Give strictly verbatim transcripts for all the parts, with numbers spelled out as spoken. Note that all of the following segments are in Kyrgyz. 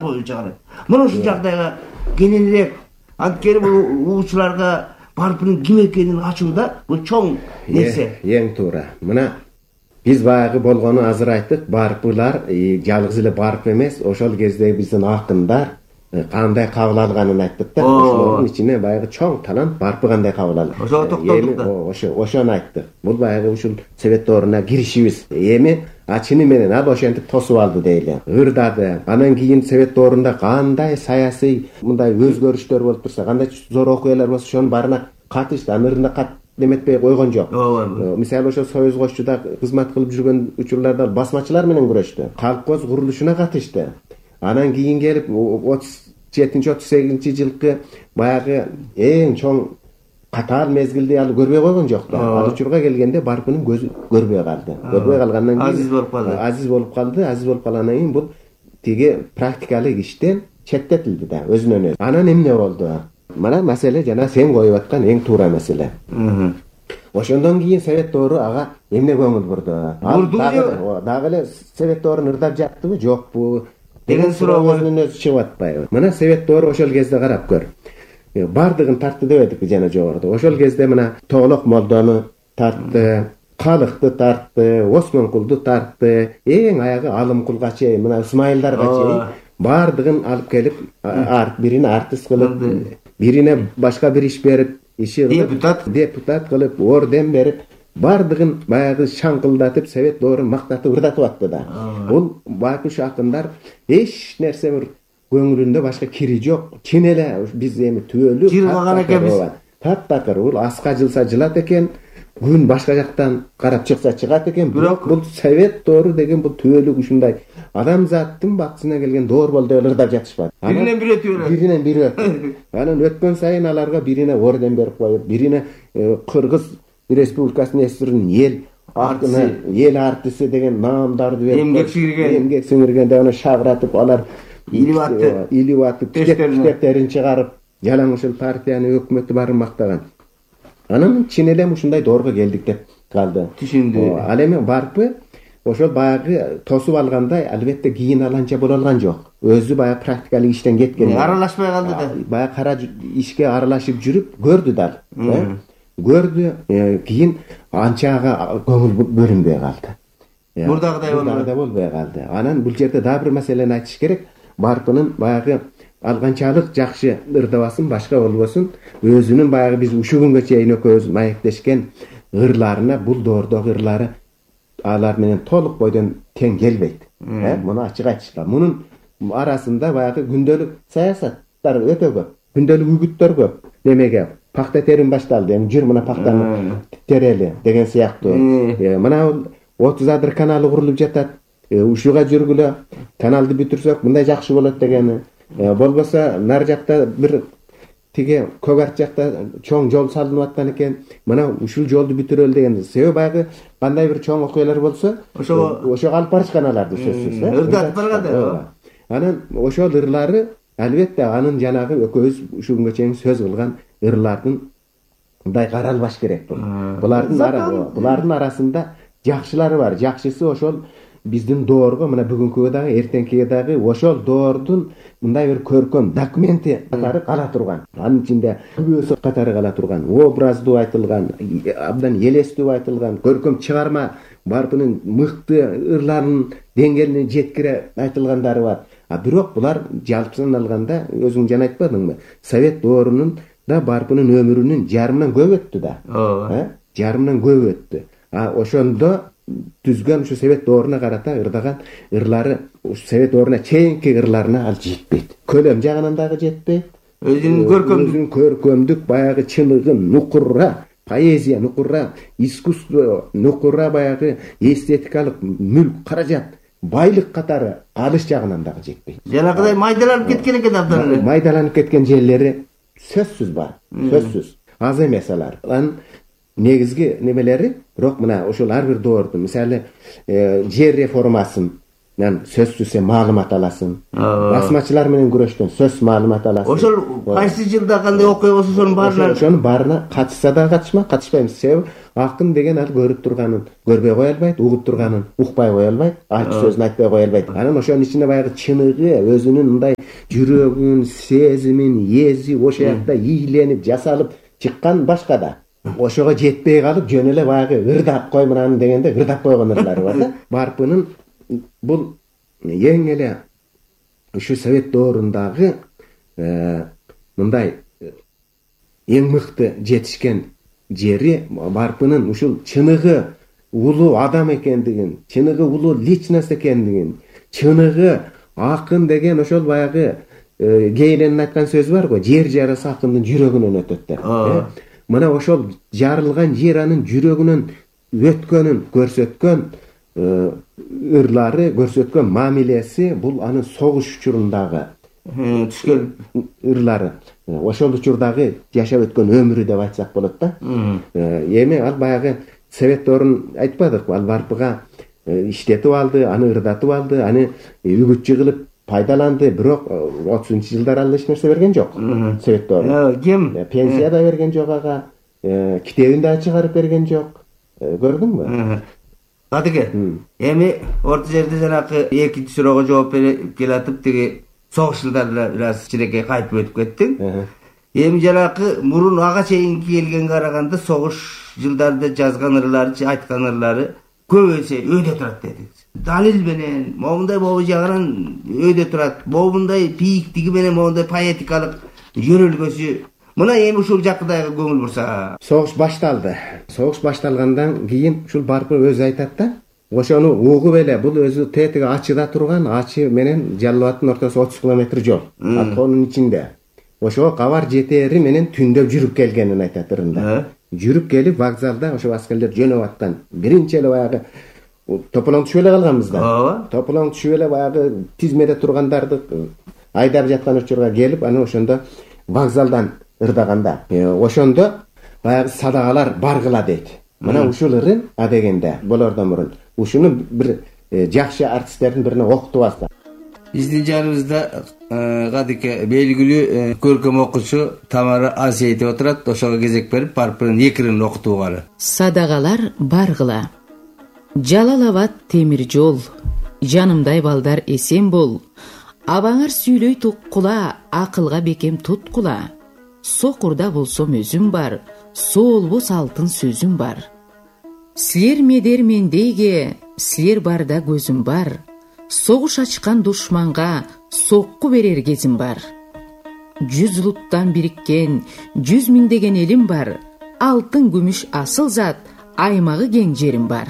чыгарат. Мына ушул жагдайга кененирээк анткени бул угуучуларга барпынын ким экенин ачууда бул чоң нерсе. Эң туура. Мына биз баягы болгону азыр айттык, барпылар жалгыз эле барп эмес, ошол кезде биздин акындар кандай кабыл алганын айттык да. Ошолордун ичине баягы чоң талант барпы кандай кабыл алды. Ошого токтолдук да. Ошо ошону айттык. Бул баягы ушул совет дооруна киришибиз. Эми ачыны менен ал ошентип тосуп алды дейли. Ырдады. Анан кийин совет доорунда кандай саясий мындай өзгөрүштөр болуп турса, кандай зор окуялар болсо, ошонун баарына катышты. Анырында кат деметпей койгон жок. Мисалы ошо Союз Кошчуда кызмат кылып жүргөн учурларда басмачылар менен күрөштү. Колхоз курулушуна катышты. Анан кийин келип отуз жетинчи отуз сегизинчи жылкы баягы эң чоң катаал мезгилди ал көрбөй койгон жок да. Ал учурга келгенде барпынын көзү көрбөй калды. Көрбөй калгандан кийин азиз болуп калды. Азиз болуп калды. Азиз болуп калгандан кийин бул тиги практикалык иштен четтетилди да, өзүнөн өзү. Анан эмне болду? Мына маселе жана сен коюп аткан эң туура маселе. Ошондон кийин совет доору ага эмне көңүл бурду? Бурду. Дагы эле совет доорун ырдап жаттыбы, жокпу деген суроо өзүнөн өзү чыгып атпайбы? Мына совет доору ошол кезде карап көр. Бардыгын тартты дебедикпи жана жогоруда. Ошол кезде мына Тоголок молдону тартты, Калыкты тартты, Осмонкулду тартты, эң аягы Алымкулга чейин, мына Ысмайылдарга чейин бардыгын алып келип, бирине артист кылып, бирине башка бир иш берип, иши депутат депутат кылып, орден берип, бардыгын баягы шаңкылдатып, совет доорун мактатып ырдатып атты да. Бул баягы акындар эч нерсе бир көңүлүндө башка кири жок. Чын эле биз эми түбөлүк жыргаган экенбиз. Таптакыр бул аска жылса жылат экен, күн башка жактан карап чыкса чыгат экен. Бирок бул совет доору деген бул түбөлүк ушундай адамзаттын бактысына келген доор болду деп ырдап жатышпады. Биринен бири өтүп Биринен бири өтүп. Анан өткөн сайын аларга бирине орден берип коюп, бирине Кыргыз Республикасынын эсиринин эл артыны, эл артиси деген наамдарды берип, эмгек сиңирген, эмгек сиңирген деп аны шабыратып, алар илип атты, илип атып, китептерин чыгарып, жалаң ушул партияны, өкмөттү баарын мактаган. Анан чын эле ушундай доорго келдик деп калды. Түшүндү. Ал эми барпы ошол баягы тосуп алгандай, албетте кийин аланча боло алган жок. Өзү баягы практикалык иштен кеткен. Аралашпай калды да. Баягы кара ишке аралашып жүрүп көрдү дал. Көрдү, кийин анча ага көңүл бөлүнбөй калды. Мурдагыдай болбой болбой калды. Анан бул жерде дагы бир маселени айтыш керек. Барпынын баягы алганчалык жакшы ырдабасын, башка болбосун, өзүнүн баягы биз ушул күнгө чейин экөөбүз маектешкен ырларына, бул доордогу ырлары алар менен толук бойдон тең келбейт. Муну ачык айтышкан. Мунун арасында баягы күндөлүк саясаттар өтө көп, күндөлүк үгүттөр көп. Немеге пакта терим башталды, эми жүр мына пактаны терели деген сыяктуу. Мына отуз адыр каналы курулуп жатат. Ушуга жүргүлө, каналды бүтүрсөк мындай жакшы болот дегени. Болбосо нар жакта бир тиги Көк Арт жакта чоң жол салынып аткан экен. Мына ушул жолду бүтүрөлү деген. Себеби баягы кандай бир чоң окуялар болсо, ошого ошого алып барышкан аларды сөзсүз. Ырдатып барганда. Анан ошол ырлары албетте анын жанагы экөөбүз ушул күнгө чейин сөз кылган ырлардын мындай каралбаш керек бул. Булардын булардын арасында жакшылары бар. Жакшысы ошол биздин доорго мына бүгүнкүгө дагы, эртеңкиге дагы ошол доордун мындай бир көркөм документи катары кала турган. Анын ичинде күбөсү катары кала турган, образдуу айтылган, абдан элестүү айтылган, көркөм чыгарма барпынын мыкты ырларынын деңгээлине жеткире айтылгандары бар. А бирок булар жалпысын алганда өзүң жана айтпадыңбы? Совет доорунун да барпынын өмүрүнүн жарымынан көп өттү да. Ооба. Жарымынан көп өттү. А ошондо түзгөн ушу совет дооруна карата ырдаган ырлары совет дооруна чейинки ырларына ал жетпейт. Көлөм жагынан дагы жетпейт. Өзүнүн көркөмдүк, өзүнүн көркөмдүк баягы чыныгын, нукура, поэзия нукура, искусство нукура, баягы эстетикалык мүлк, каражат, байлык катары алыш жагынан дагы жетпейт. Жанагыдай майдаланып кеткен экен абдан эле. Майдаланып кеткен жерлери сөзсүз бар. Сөзсүз. Аз эмес алар. Анын негизги немелери, бирок мына ошол ар бир доорду, мисалы, жер реформасын Анан сөзсүз сен маалымат аласың. Басмачылар менен күрөштөн сөз маалымат аласың. Ошол кайсы жылда кандай окуя болсо ошонун баарына ошонун баарына катышса да катышма, катышпайм. Себеби акын деген ал көрүп турганын көрбөй кое албайт, угуп турганын укпай кое албайт, айтчу сөзүн айтпай кое албайт. Анан ошонун ичинде баягы чыныгы, өзүнүн мындай жүрөгүн, сезимин, эзи ошол жакта ийленип, жасалып чыккан башка да. Ошого жетпей калып, жөн эле баягы ырдап кой мынаны дегенде ырдап койгон ырлары бар да. Барпынын бул эң эле ушу совет доорундагы мындай эң мыкты жетишкен жери Барпынын ушул чыныгы улуу адам экендигин, чыныгы улуу личность экендигин, чыныгы акын деген ошол баягы Гейленин айткан сөзү бар го, жер жарасы акындын жүрөгүнөн өтөт деп. Мына ошол жарылган жер анын жүрөгүнөн өткөнүн көрсөткөн ырлары, көрсөткөн мамилеси бул анын согуш учурундагы түшкөн ырлары. Ошол учурдагы жашап өткөн өмүрү деп айтсак болот да. Эми ал баягы совет доорун айтпадыкпы, ал Барпыга иштетип алды, аны ырдатып алды, аны үгүтчү кылып пайдаланды, бирок отузунчу жылдар ал эч нерсе берген жок. Совет доору. Ким? Пенсия да берген жок ага, китебин да чыгарып берген жок. Көрдүңбү? Кадыке. Эми орто жерде жанакы экинчи суроого жооп берип келатып тиги согуш жылдарына бир аз кичинекей кайтып өтүп кеттиң. Эми жанакы мурун ага чейинки келгенге караганда согуш жылдарында жазган ырлары, айткан ырлары көп эсе өйдө турат дедиңиз. Далил менен, момундай могу жагынан өйдө турат. Момундай бийиктиги менен, момундай поэтикалык жөнөлгөсү. Мына эми ушул жакыдагы көңүл бурса. Согуш башталды. Согуш башталгандан кийин ушул Барпы өзү айтат да, ошону угуп эле бул өзү тетиги Ачыда турган, Ачы менен Жалал Абадтын ортосу отуз километр жол. Атконун ичинде. Ошого кабар жетери менен түндөп жүрүп келгенин айтат ырында. Жүрүп келип вокзалда ошо аскерлер жөнөп аткан. Биринчи эле баягы тополоң түшүп эле калганбыз да. Тополоң түшүп эле баягы тизмеде тургандарды айдап жаткан учурга келип, анан ошондо вокзалдан ырдаганда, ошондо баягы садагалар баргыла дейт. Мына ушул ырын а дегенде болордон мурун ушуну бир жакшы артисттердин бирине окутуп алса. Биздин жаныбызда кадыке белгилүү көркөм окуучу Тамара Асиетова отурат. Ошого кезек берип Барпынын эки ырын окутууганы. Садагалар баргыла. Жалал Абад темир жол, жанымдай балдар эсен бол. Абаңар сүйлөй туккула, акылга бекем туткула. Сокурда болсом өзүм бар, соолбос алтын сөзүм бар. Силер медер мендейге, силер барда көзүм бар. Согуш ачкан душманга сокку берер кезим бар. Жүз улуттан бириккен, жүз миңдеген элим бар. Алтын, күмүш, асыл зат, аймагы кең жерим бар.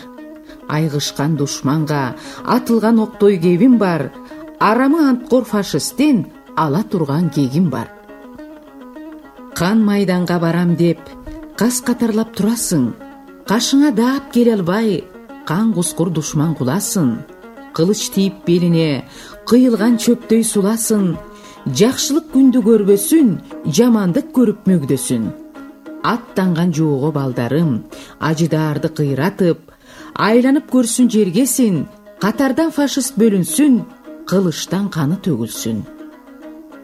Айгышкан душманга атылган октой кебим бар. Арамы анткор фашисттен ала турган кегим бар. Кан майданга барам деп кас катарлап турасың. Кашыңа даап келе албай, кан кускур душман куласын. Кылыч тийип белине, кыйылган чөптөй суласын. Жакшылык күндү көрбөсүн, жамандык көрүп мөгдөсүн. Аттанган жоого балдарым, ажыдаарды кыйратып, айланып көрсүн жергесин, катардан фашист бөлүнсүн, кылычтан каны төгүлсүн.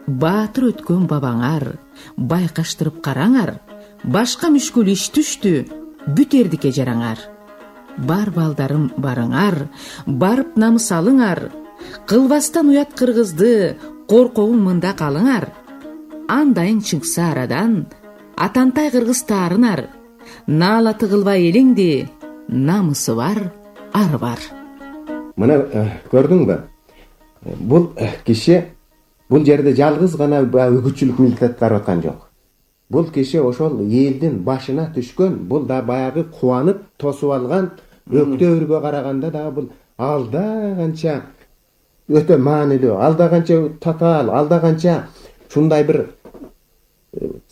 Баатыр өткөн бабаңар, байкаштырып караңар, башка мүшкүл иш түштү, бүтердикке жараңар. Бар балдарым барыңар, барып намыс алыңар, кылбастан уят кыргызды, коркоун мында калыңар. Андайын чыңкса арадан, атантай кыргыз таарынар, наала тыгылбай элеңди, намысы бар, ары бар. Мына көрдүңбү? Бул киши бул жерде жалгыз гана үгүтчүлүк милдет аткарып аткан жок. Бул киши ошол элдин башына түшкөн, бул да баягы кубанып тосуп алган өктөбүргө караганда да бул алда канча өтө маанилүү, алда канча татаал, алда канча ушундай бир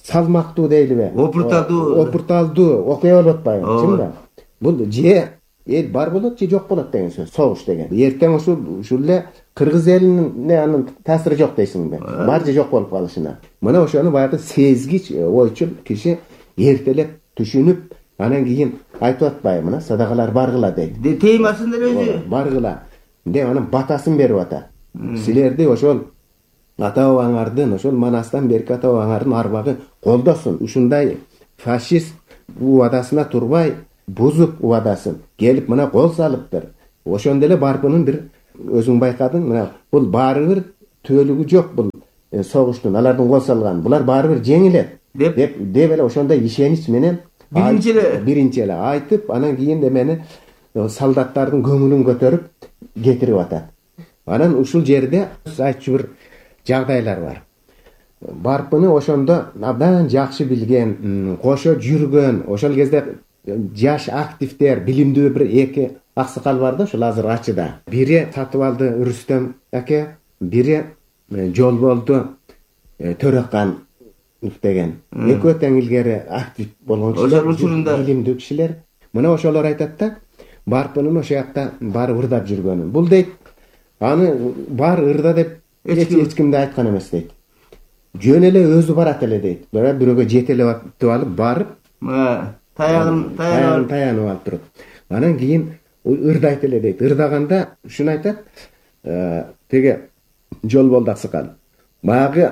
салмактуу дейлиби? Опурталдуу. Опурталдуу окуя болуп атпайбы, чынбы? Бул же эл бар болот, же жок болот деген сөз. Согуш деген. Эртең ушул ушул эле кыргыз элине анын таасири жок дейсиңби? Бар же жок болуп калышына. Мына ошону баягы сезгич, ойчул киши эртелеп түшүнүп, анан кийин айтып атпайбы, мына садагалар баргыла дейт. Темасында өзү баргыла. деп анан батасын берип атат. Силерди ошол ата бабаңардын, ошол манастан берки ата бабаңардын арбагы колдосун. Ушундай фашист убадасына турбай, бузуп убадасын келип мына кол салыптыр. Ошондо эле Барпынын бир өзүң байкадың, мына бул баары бир түбөлүгү жок бул согуштун, алардын кол салган. Булар баары бир жеңилет деп деп эле ошондой ишенич менен биринчи эле биринчи эле айтып, анан кийин эмени солдаттардын көңүлүн көтөрүп кетирип атат. Анан ушул жерде айтчу бир жагдайлар бар. Барпыны ошондо абдан жакшы билген, кошо жүргөн, ошол кезде жаш активдер, билимдүү бир эки аксакал бар да, ошол азыр ачыда. Бири сатып алды Рүстөм аке, бири Жолболду Төрөкан деген. Экөө тең илгери актив болгон кишилер, учурунда билимдүү кишилер. Мына ошолор айтат да, Барпынын ошол жакта баары ырдап жүргөнүн. Бул дейт, аны бар ырда деп эч кимде айткан эмес дейт. Жөн эле өзү барат эле дейт. Бирок бирөөгө жетелеп алып барып, таягын таягын таянып алып туруп. Анан кийин ырдайт эле дейт. Ырдаганда ушуну айтат, теге Жолболду аксакал. Баягы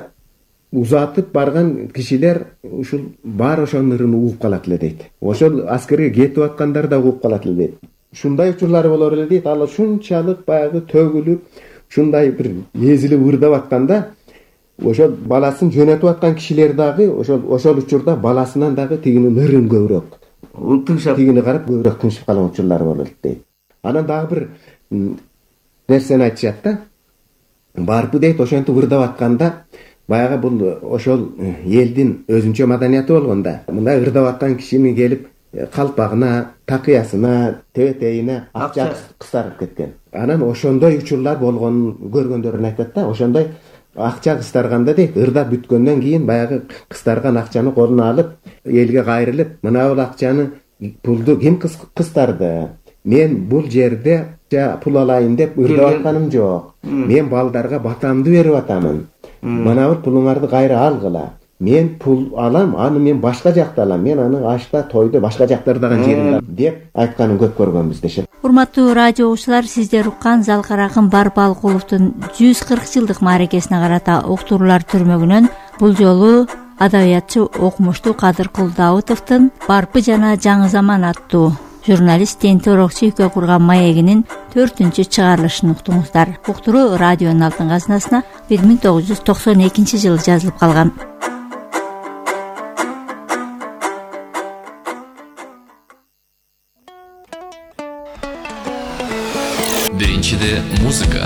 узатып барган кишилер ушул бар ошонун ырын угуп калат эле дейт. Ошол аскерге кетип аткандар да угуп калат эле дейт. Ушундай учурлары болор эле дейт. Ал ушунчалык баягы төгүлүп, ушундай бир эзилип ырдап атканда, ошол баласын жөнөтүп аткан кишилер дагы ошол ошол учурда баласынан дагы тигинин ырын көбүрөөк, тыңшап, тигини карап көбүрөөк тыңшап калган учурлары болот дейт. Анан дагы бир нерсени айтышат да. Барпы дейт, ошентип ырдап атканда, баягы бул ошол элдин өзүнчө маданияты болгонда, мындай ырдап аткан кишини келип калпагына, такыясына, тебетейине акча кыстарып кеткен. Анан ошондой учурлар болгонун көргөндөрүн айтат да, ошондой акча кыстарганда дейт, ырдап бүткөндөн кийин баягы кыстарган акчаны колуна алып, элге кайрылып, мына бул акчаны, пулду ким кыстарды? Мен бул жерде пул алайын деп ырдап атканым жок. Мен балдарга батамды берип атамын. Мына бул пулуңарды кайра алгыла. Мен пул алам, аны мен башка жакта алам. Мен аны ашта, тойдо, башка жактардагы жеринде деп айтканын көп көргөнбүз дешет. Урматтуу радио угуучулар, сиздер уккан Залкаракын Барпы Алкуловдун жүз кырк жылдык мааракесине карата уктуруулар түрмөгүнөн бул жолу адабиятчы окумуштуу Кадыркул Даутовдун Барпы жана Жаңы заман аттуу журналист Тентер Орокчу экөө курган маегинин төртүнчү чыгарылышын уктуңуздар. Уктуруу радионун алтын казынасына бир миң тогуз жүз токсон экинчи жылы жазылып калган. Биринчиде музыка,